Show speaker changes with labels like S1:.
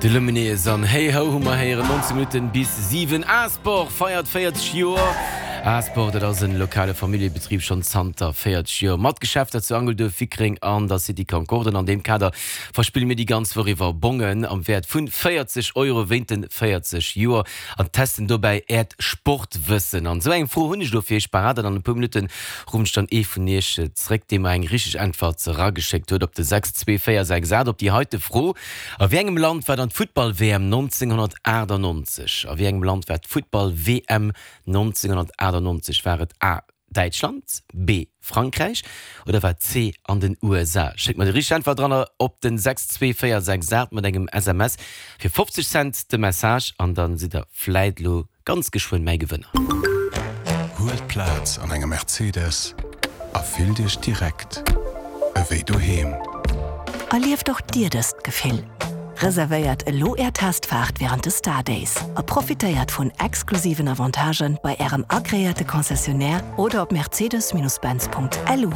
S1: De Lumineers an Hey Ho hu mer héieren. 19 Minutten bis 7. A-Sport feiert 40 Joer. A-Sport, dat ass en lokale Familljebetrib schonn zanter 40 Joer mat Geschäfter zu Angelduerf, Wickreng an der City Concorde. An an deem Kader verspille mir déi ganz Woch iwwer Bongen am Wäert vun 40 Euro wéint den 40 Joer an testen dobäi äert Sportwëssen. An esou eng Fro hunn ech elo fir iech parat an an e puer Minutten Ruffen ech dann ee vun iech zréck, dee mer eng richteg Äntwert erageschéckt huet op de 62468 op déi heite Fro, A wéi engem Land war dann d'Futtball-WM 1998? A wéi engem Land war d'Futtball-WM 1998? War et A, Däitschland, B, Frankräich oder war et C, an den USA? Schéckt mer déi richteg Äntwert eran op den 62468 mat engem SMS fir 50 Cent de Message an dann sidd der vläit elo Ganz geschwënn mäi Gewënner.
S2: Huelt Plaz an engem Mercedes a fillt Iech direkt ewéi doheem.
S3: Erlieft och Dir dëst Gefill? Reservéiert elo Är Testfaart wärend de Star Days a profitéiert vun exklusiven Avantagen bei Ärem agreéierte Concessionnaire oder op mercedes-benz.lu.